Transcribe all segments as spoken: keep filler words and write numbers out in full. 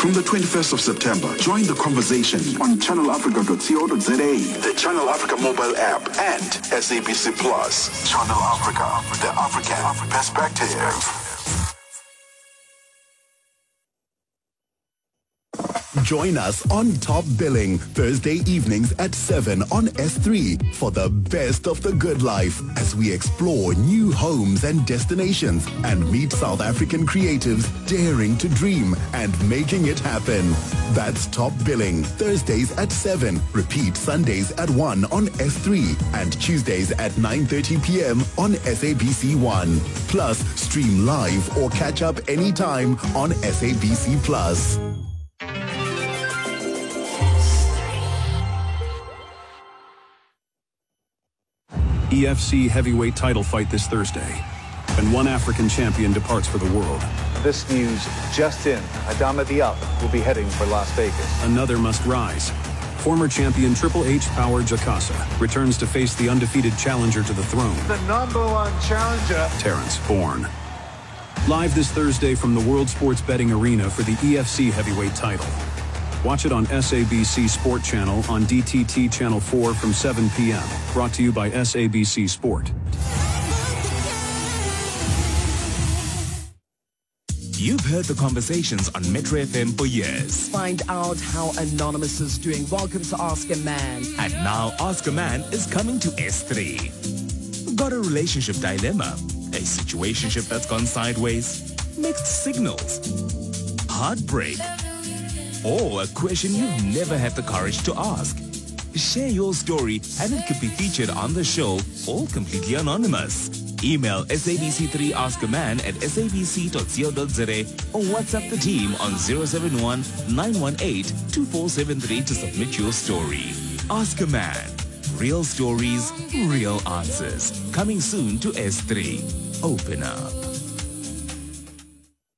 From the twenty-first of September, join the conversation on channel africa dot co dot za, the Channel Africa mobile app, and S A B C Plus. Channel Africa, the African perspective. Join us on Top Billing Thursday evenings at seven on S three for the best of the good life as we explore new homes and destinations and meet South African creatives daring to dream and making it happen. That's Top Billing, Thursdays at seven, repeat Sundays at one on S three and Tuesdays at nine thirty p m on S A B C one. Plus, stream live or catch up anytime on S A B C Plus. E F C heavyweight title fight this Thursday, and one African champion departs for the world. This news just in, Adama Diop will be heading for Las Vegas. Another must rise. Former champion Triple H Power Jakasa returns to face the undefeated challenger to the throne. The number one challenger, Terrence Bourne. Live this Thursday from the World Sports Betting Arena for the E F C heavyweight title. Watch it on S A B C Sport Channel on D T T Channel four from seven p m Brought to you by S A B C Sport. You've heard the conversations on Metro F M for years. Find out how Anonymous is doing. Welcome to Ask a Man. And now Ask a Man is coming to S three. Got a relationship dilemma? A situationship that's gone sideways? Mixed signals? Heartbreak? Or a question you've never had the courage to ask? Share your story and it could be featured on the show, all completely anonymous. Email S A B C three ask a man at S A B C dot co dot za or WhatsApp the team on zero seven one, nine one eight, two four seven three to submit your story. Ask a Man. Real stories, real answers. Coming soon to S three. Open up.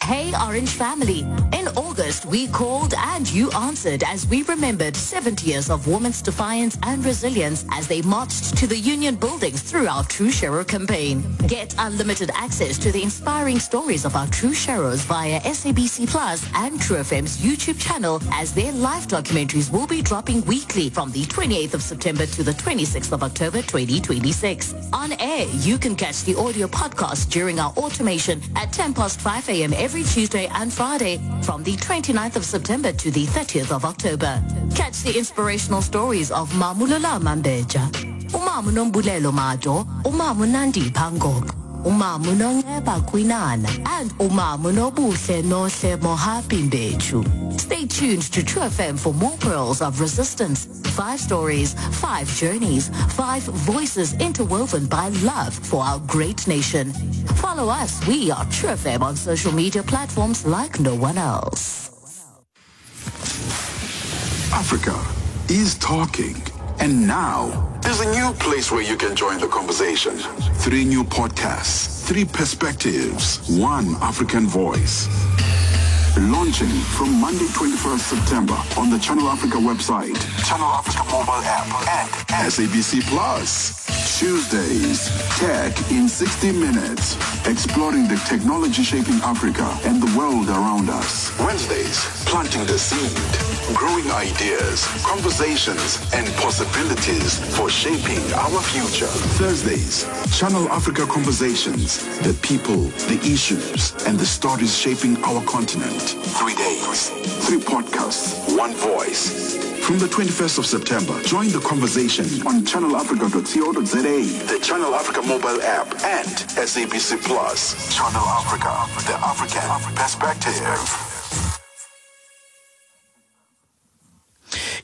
Hey Orange Family. In August, we called and you answered as we remembered seventy years of women's defiance and resilience as they marched to the union buildings through our True Sharer campaign. Get unlimited access to the inspiring stories of our True Sharers via S A B C Plus and True F M's YouTube channel, as their live documentaries will be dropping weekly from the twenty-eighth of September to the twenty-sixth of October twenty twenty-six. On air, you can catch the audio podcast during our automation at ten past five a m every Tuesday and Friday from the twenty-ninth of September to the thirtieth of October. Catch the inspirational stories of Mamulula Mambeja, Umamu Nombulelo Mado, Umamu Nandi Pangok, Umamu Nongeba Kwinana, and Umamu Nobuhle Nohle Mohapi Mbechu. Stay tuned to True F M for more pearls of resistance. Five stories, five journeys, five voices interwoven by love for our great nation. Follow us. We are True F M on social media platforms like no one else. Africa is talking. And now, there's a new place where you can join the conversation. Three new podcasts, three perspectives, one African voice. Launching from Monday twenty-first September on the Channel Africa website, Channel Africa mobile app, and S A B C Plus. Tuesdays, Tech in sixty minutes, exploring the technology shaping Africa and the world around us. Wednesdays, planting the seed, growing ideas, conversations, and possibilities for shaping our future. Thursdays, Channel Africa Conversations, the people, the issues, and the stories shaping our continent. Three days, three podcasts, one voice. From the twenty-first of September, join the conversation on channel africa dot co dot za, the Channel Africa mobile app, and S A B C Plus. Channel Africa, the African perspective.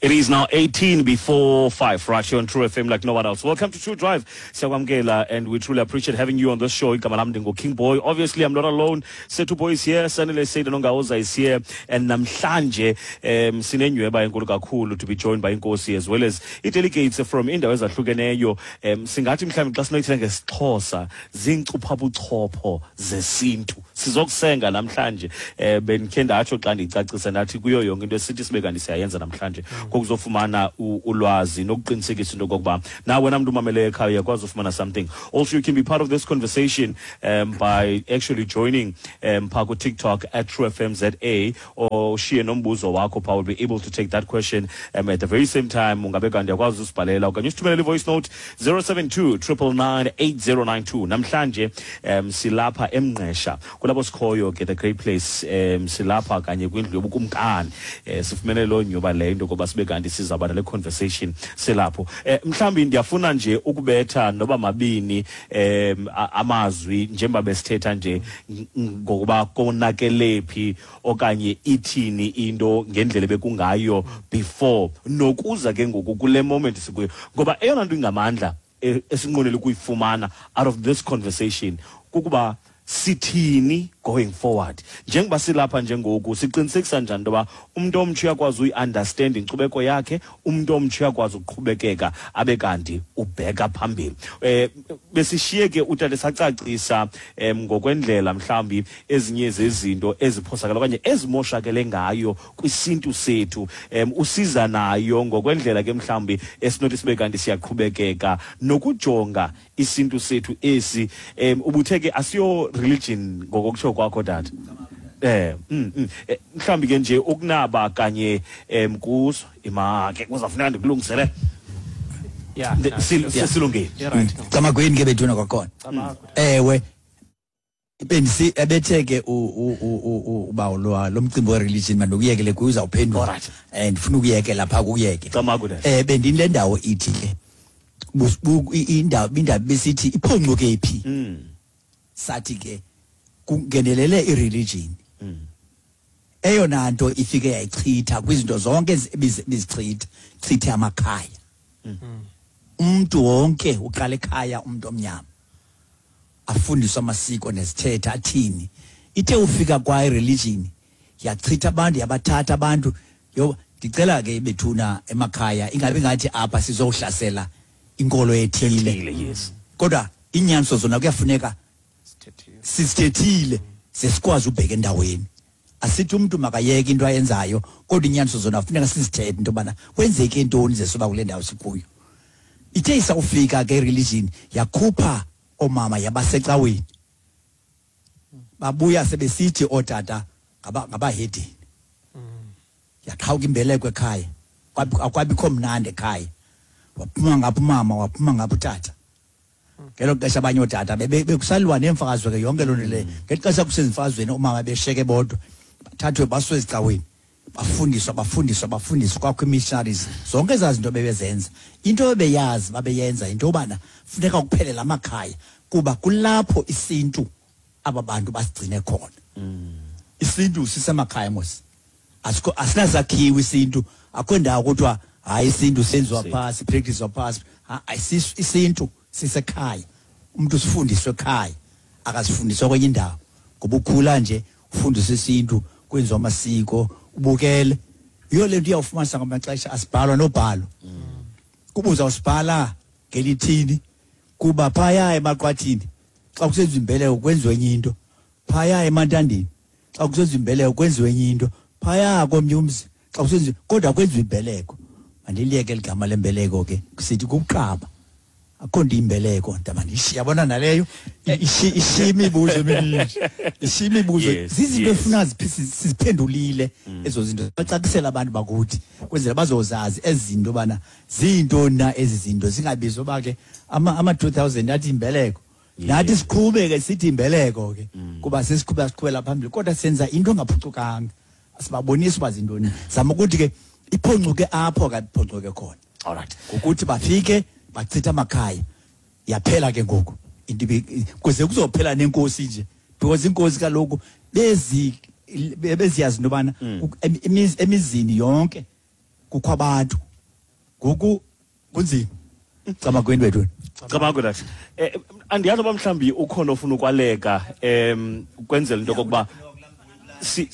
It is now eighteen before five, right here on True F M like no one else. Welcome to True Drive, Siyakwamkela, and we truly appreciate having you on this show. Igama lam ndingu King Boy. Obviously, I'm not alone. Sethu Boy is here, Sanele Seide Nongaoza is here, and namhlanje um sinenyweba enkulu kakhulu to be joined by Inkosi as well as i-delegates from indawo ezahlukeneyo. Um singathi mhlawumbi xa sinoyithetha ngesiXhosa, ziinkcuphabuchopho zesintu. Sizokusenga namhlanje. Eh, bendikhe ndatsho xa ndiyicacisa ndathi kuyo yonke into esithi sibe kanti siyayenza namhlanje. kokuzofumana ulwazi nokuqinisekisa into kokuba na wena mntu umamele ekhaya uyakwazi ufumana something. Also, you can be part of this conversation um, by actually joining um, phaa ku-TikTok at True F M Z A, or ushiye nombuzo wakho phaa. We'll be able to take that question um, at the very same time. Ungabe kanti uyakwazi usibhalela okanye usithumelele i-voice note zero seven two triple nine eight zero nine two. Namhlanje um, silapha eMngqesha kulapho sikhoyo ke, the great place. um, silapha kanye kwindlu yobukumkani. eh, sifumene loo nyoba leyo into koba sibe kanti sizawuba nale conversation silapho. eh, mhlawumbi ndiyafuna nje ukubetha noba mabini um, amazwi njengoba besithetha nje ngokuba konakele phi okanye ithini into ngendlela bekungayo before nokuza ke ngoku kule moment sikuyo, ngoba eyona nto ingamandla esinqwenela ukuyifumana out of this conversation kukuba sithini going forward. Njengoba silapha njengoku, siqinisekisa njani into yoba umntu omtsha uyakwazi uyi-understand inkcubeko yakhe, umntu omtsha uyakwazi ukuqhubekeka abe kanti ubheka phambili. Eh besishiye ke utata sacacisa um, ngokwendlela mhlawumbi ezinye zezinto eziphosakele okanye ezimoshakele ngayo kwisintu sethu, um, usiza nayo ngokwendlela ke mhlawumbi esinothi sibe kanti siyaqhubekeka nokujonga isintu sethu esi. um, ubuthe ke asiyo religion ngokokutsho kwakho tata. Eh mm, mm. Mhlawumbi ke nje ukunaba kanye em kuso ima ke kuzafuneka ndikulungisele. Yeah, silungile. Camagweni ke bethuna kwakhona. Ewe bendisi ebethe ke ubawo lo lo mcimbi we religion mandokuyekele kuyo uzawuphendula. Eh ndifuna ukuyekela pha kuyeke. Eh bendini le ndawo ithi ke indawo indaba besithi iphoncuke phi. Sathi ke kungenelele ireligion. Eyona nto ifike yayichitha kwizinto zonke ebizichitha, chithe amakhaya. Umuntu wonke uqala ekhaya, umuntu omnyama afundiswa amasiko nezithethe athini. Ithe ufika kwa ireligion yachitha abantu, yabathatha abantu. Yo ndicela ke bethuna emakhaya ingabe ngathi apha sizohlasela inkolo ethile. Yes. Kodwa inyaniso zona kuyafuneka sisithethile sesikwazi ubheka endaweni. Asithi umuntu makayeke into ayenzayo, kodwa inyaniso zona kufuneka sizithethe into bana kwenzeke intoni zesoba kule ndawo sikuyo. Ithe isawufika ke religion yakhupha omama yabasecaweni. Babuya sebesithi ootata ngaba ngabahedini. Yaqhawuka imbeleko ekhaya. Akwabikho mnandi ekhaya. Waphuma ngapha umama, waphuma ngapha utata. Ngelo xesha abanye ootata bekusaliwa nemfazwe ke yonke loo nto leyo. Ngeli xesha kusezimfazweni oomama besheke bodwa, bathathwe basiwe ezicaweni, bafundiswa bafundiswa bafundiswa, kwakho ii-missionaries, zonke ezaa zinto bebezenza. Into ebeyazi babeyenza into yobana funeka kuphelele amakhaya kuba kulapho isintu aba bantu basigcine khona. Isintu sisemakhaya mos. Asikho asinasakhiwo isintu, akho ndawo kuthiwa hayi isintu senziwa phasi, practice phasi. Isintu sisekhaya. Umuntu usifundiswe ekhaya, akasifundiswa kwenye indawo. Ngoba ukhula nje ufundiswe isintu, kwenziwa amasiko, ubukele. Yiyo le nto iyawufumanisa ngamaxesha asibhalwa nobhalo. Kuba uzawusibhala ngelithini, kuba phaya emaqwathini xa kusenziwa imbeleko kwenziwe enye into, phaya emantandini xa kusenziwa imbeleko kwenziwe enye into, phaya komnye umzi xa kusenziwa, kodwa kwenziwa imbeleko. Mandiliyeke ligama lembeleko ke, kusithi kukuqaba. Akho nto imbeleko ndaba ndiyabona naleyo ishiya imibuzo emininzi, ishiya imibuzo. Zizinto efuna siziphendulile ezo zinto, bacacisela abantu bakuthi kwenzela bazozazi ezi zinto bana ziyintoni na ezi zinto, zingabizwa uba ke ama two thousand athi imbeleko. Nathi siqhubeke sithi imbeleko ke kuba sesiqhubeka siqhubela phambili, kodwa senza into engaphucukanga, asibabonisi uba zintoni. Zama ukuthi ke iphoncuke apho ke iphoncuke khona. All right. Ngokuthi bafike bachitha amakhaya, yaphela ke ngoku into kuze kuzophela nenkosi nje, because inkosi kaloku bezi beziyazi into yobana emizini yonke kukho abantu. Ngoku kunzima. Camagweni wethu. Camagu that. Eh andiyazi uba mhlawumbi ukhona ofuna ukwaleka em ukwenzela into yokokuba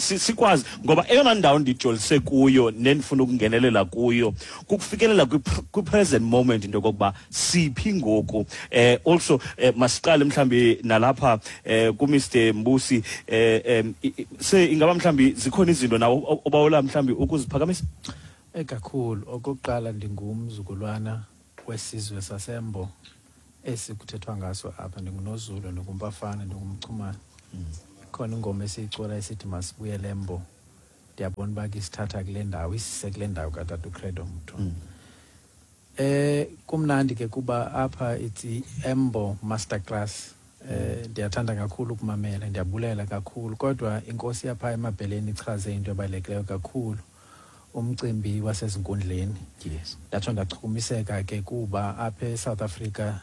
sikwazi, ngoba eyona ndawo ndijolise kuyo nendifuna ukungenelela kuyo kukufikelela kwi-present moment into yokokuba siphi ngoku. Eh also eh, masiqale mhlawumbi nalapha eh ku-Mister Mbusi, eh se ingaba mhlawumbi zikhona izinto nawo obawela mhlawumbi ukuziphakamisa. Ekakhulu, okokuqala ndingumzukulwana wesizwe saseMbo esikuthethwa ngaso apha. NdinguNozulu, ndinguMpafana, ndingumchumane. Khona ingoma esiyicula esithi masibuyele eMbo. Ndiyabona uba ke isithatha kule ndawo, isise kule ndawo katata uCredo Mutwa. Eh kumnandi ke kuba apha it's Embo Masterclass. Eh ndiyathanda kakhulu ukumamela, ndiyabulela kakhulu, kodwa inkosi yapha eMabheleni ichaze into ebalulekileyo kakhulu, umcimbi wasezinkundleni. Yes. Ndatsho ndachukumiseka ke kuba apha eSouth Africa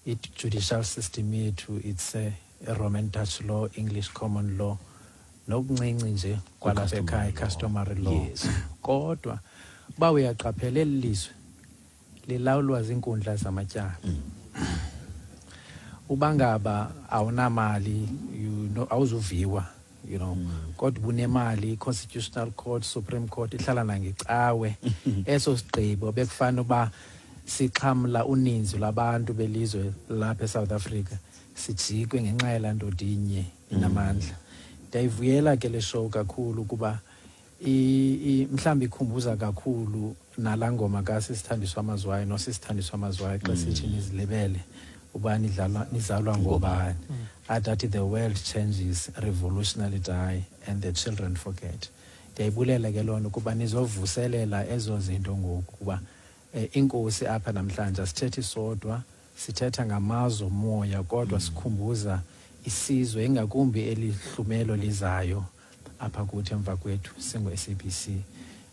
i-judicial system yethu it's a, a Roman Dutch law, English common law, nokuncinci nje kwalapha ekhaya customary law. Yes. Kodwa uba uyaqaphela, eli lizwe lilawulwa ziinkundla zamatyala. Uba ngaba awunamali, you know, awuzuviwa, you know kodwa ubunemali, i-Constitutional Court, Supreme Court ihlala nangecawe. Eso sigqibo bekufanele uba sixhamla uninzi lwabantu belizwe lapha eSouth Africa sijikwe ngenxa yalaa ndoda inye inamandla. Ndiyayivuyela ke le show kakhulu kuba mhlawumbi ikhumbuza kakhulu nalaa ngoma kaSisithandiswa Mazwai noSisithandiswa Mazwai xa sithi nizilibele uba nidlalwa nizalwa ngobani, athi athi the world changes, revolutionary die and the children forget. Ndiyayibulela ke loo nto kuba nizovuselela ezo zinto ngoku, kuba eh, inkosi apha namhlanje asithethi sodwa, sithetha ngamazwe omoya, kodwa sikhumbuza isizwe, ingakumbi elihlumelo lizayo apha kuthi emva kwethu singu-S A B C.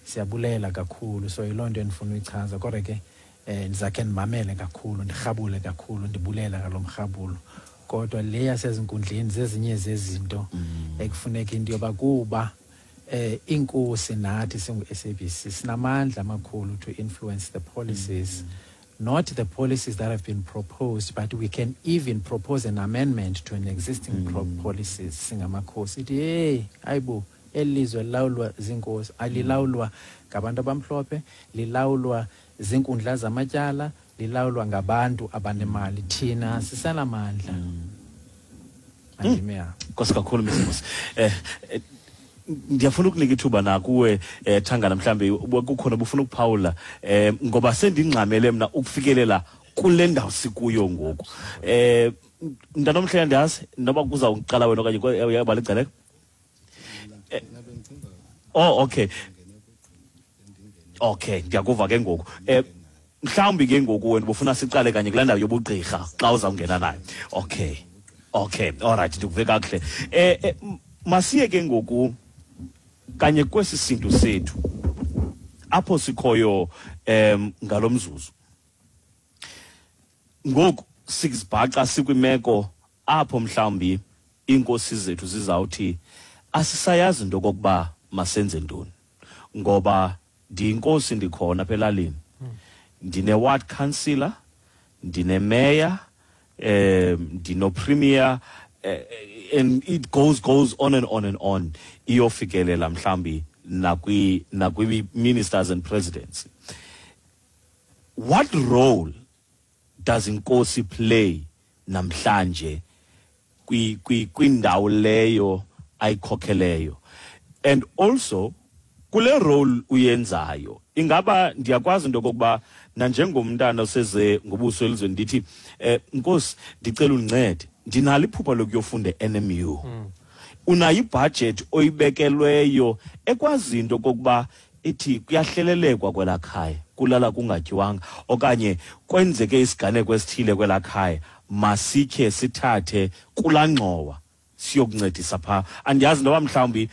Siyabulela kakhulu. So yiloo nto endifuna uyichaza, kodwa ke eh ndizakhe ndimamele kakhulu, ndirhabule kakhulu, ndibulela ngalo mrhabulo. Kodwa le yasezinkundleni zezinye zezinto ekufuneka into yoba kuba eh inkosi nathi singu-S A B C sinamandla amakhulu to influence the policies, not the policies that have been proposed, but we can even propose an amendment to an existing mm. pro policies singamakhosi. Ithi hey, hayibo, eli lizwe lilawulwa ziinkosi, alilawulwa ngabantu abamhlophe, lilawulwa ziinkundla zamatyala, lilawulwa ngabantu abanemali. Thina sisenamandla. Andime apho. Nkosi kakhulu, Mrs. Eh eh, ndiyafuna ukunika ithuba nakuwe, eh Thangana, mhlambe kukhona bufuna ukuphawula, eh ngoba sendingxamele mna ukufikelela kule ndawo sikuyo ngoku. Eh mntanomhle, andiyazi noba kuzawuqala wena okanye uyabala igcaleko. Oh, okay. Okay, ndiyakuva ke ngoku. Eh mhlawumbi ke ngoku wena ubufuna siqale kanye kulaa ndawo yobugqirha xa uzawungena nayo. Okay. Okay, all right, ndikuve kakuhle. Eh, eh masiye ke ngoku kanye kwesi sintu sethu apho sikhoyo em ngalomzuzu. Ngoku sikuzibhaca sikwimeko apho mhlawumbi inkosi zethu zizawuthi asisayazi into kokuba masenze ntoni, ngoba ndiyinkosi, ndikhona apha elalini, ndine ward councillor, ndine mayor, um ndino premier, eh, and it goes goes on and on and on, iyofikelela mhlambi nakwi nakwi ministers and presidents. What role does inkosi play namhlanje kwi kwi kwindawo leyo ayikhokheleyo? And also kule role uyenzayo, ingaba ndiyakwazi into kokuba nanjengomntana oseze ngobuso elizweni ndithi, eh nkosi, ndicela undincede, ndinalo iphupha lokuyofunda e-N M U, unayo ibudget oyibekelweyo ekwazi into kokuba ithi kuyahlelelekwa kwelaa khaya, kulala kungatyiwanga, okanye kwenzeke isiganeko esithile kwelaa khaya, masikhe sithathe kulaa ngxowa siyokuncedisa phaa? Andiyazi noba mhlawumbi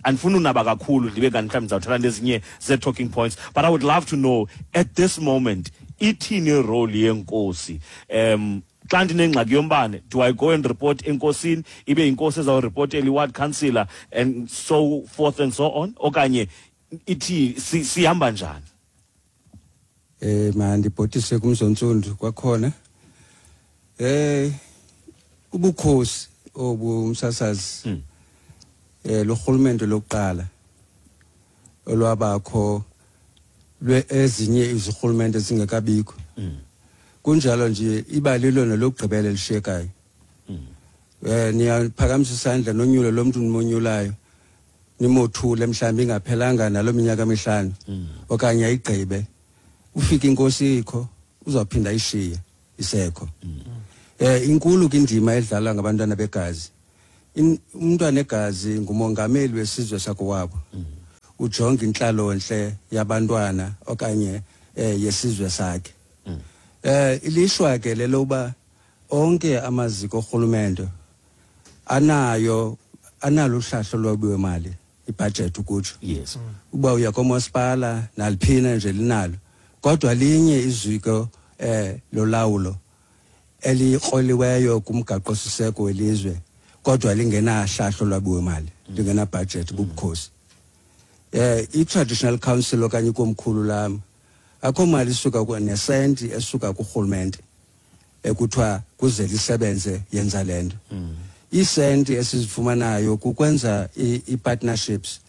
andifuni unaba kakhulu, ndibe kanti mhlawumbi ndizawuthatha nezinye zee-talking points, but I would love to know at this moment ithini irole yenkosi. um xa ndinengxaki yombane, do I go and report enkosini, ibe yinkosi ezawuripotela i-ward councillor and so forth and so on, okanye ithi sihamba njani? Eh mandibhotise kumzontsundu kwakhona. Eh ubukhosi obu, umsasazi, eh lo rhulumente lokuqala olwabakho lwe ezinye izirhulumente zingekabikho. Kunjalo nje iba lilona lokugqibela elishiyekayo. Eh niyaphakamisa isandla nonyulo lomntu nimonyulayo. Nimothule mhlawumbi ingaphelanga nalo minyaka emihlanu okanye ayigqibe, ufike inkosi ikho, uzawuphinda ayishiye isekho. Eh inkulu ke indima edlalwa ngabantwana begazi. Umntwana egazi ngumongameli wesizwe sakowabo. Ujonga inhlalonhle yabantwana okanye eh yesizwe sakhe. Eh ilishwa ke leloba onke amaziko orhulumente anayo analo uhlahlo lwabiwe mali, ibudget ukutsho. Yes. Uba uya komasipala naliphina nje linalo, kodwa linye iziko eh lolawulo elikroliweyo kumgaqo siseko welizwe, kodwa lingenahlahlo lwabiwe mali, lingena budget, bubukhosi. Eh i-traditional council okanye ikomkhulu lam akho mali isuka nesenti esuka kurhulumente ekuthiwa kuze lisebenze yenza lento. Isenti esizifumanayo kukwenza i-partnerships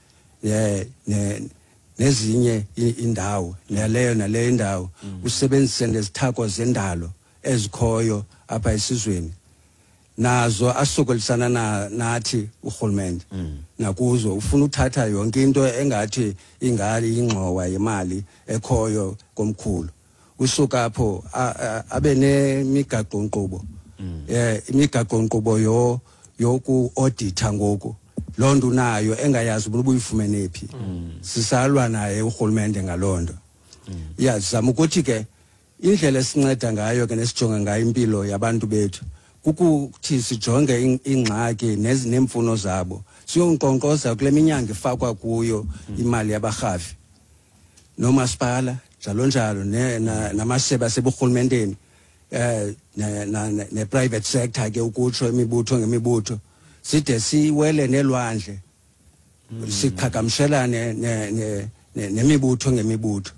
nezinye indawo, naleyo naleyo indawo, usebenzise nezithako zendalo ezikhoyo apha esizweni, nazo asokolisana na nathi urhulumente nakuzo ufuna uthatha yonke into engathi ingali ingxowa yemali ekhoyo komkhulu. Usuka apho abe nemigaqo nkqubo, eh imigaqo nkqubo yo yoku audita ngoku lonto unayo engayazi ubuyifumene phi. Sisalwa naye urhulumente ngalonto. Iyazama ukuthi ke indlela esinceda ngayo ke nesijonga ngayo impilo yabantu bethu kukuthi sijonge ingxaki nezinemfuno zabo, siyonkonkoza kule minyango ifakwa kuyo imali yabarhafi nomasipala njalo njalo namasebe aseburhulumenteni eh ne private sector ke ukutsho imibutho ngemibutho, side siwele nelwandle siqhagamshelane nemibutho ngemibutho.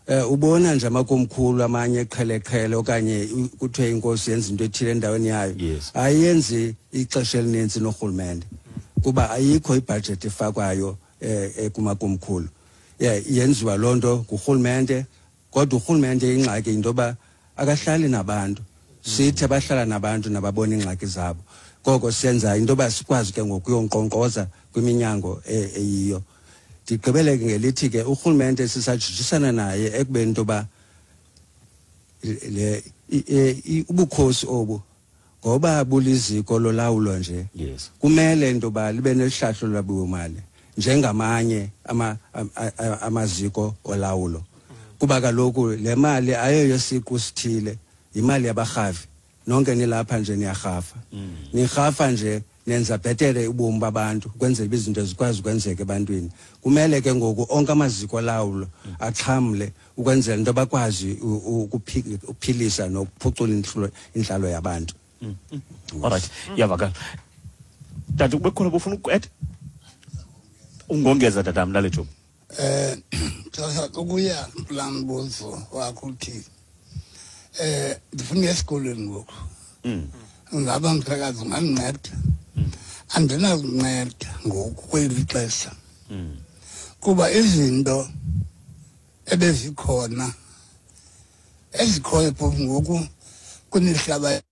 Eh ubona nje amakomkhulu amanye eqheleqhele okanye kuthiwe inkosi yenza into ethile endaweni yayo, ayenzi ixesha elininzi norhulumente kuba ayikho ibudget efakwayo ekumakomkhulu. Yenziwa lonto ngurhulumente, kodwa urhulumente ingxaki into yoba akahlali nabantu, sithi abahlala nabantu nababona ingxaki zabo. Koko senza into yoba sikwazi ke ngokuyonkqonkqoza kwiminyango eyiyo. Ndigqibele ke ngelithi ke urhulumente sisajijisana naye ekubeni into yoba le ubukhosi obu ngoba buliziko lolawulo nje, kumele into yoba libe nehlahlo lwabiwo-mali njengamanye ama amaziko olawulo, kuba kaloku le mali ayoyo siqu sithile, imali yabarhafi. Nonke nilapha nje niyarhafa, nirhafa nje nenza bhetere ubomi babantu ukwenzela izinto zikwazi ukwenzeka ebantwini. Kumele ke ngoku onke amaziko olawulo axhamle ukwenzela into bakwazi ukuphilisa nokuphucula inhlalo yabantu. Alright, iyavakala. Tata, kube khona bufuna uku-add? Ungongeza tata mna lethu. Eh sasa ukuya kulaa mbuzo wakho uthi eh ndifuna esikolweni ngoku. Ngaba mphakathi ungandinceda? Andinakunceda ngoku kweli xesha. Kuba izinto ebezikhona ezikhoyo phofu ngoku kunihlaba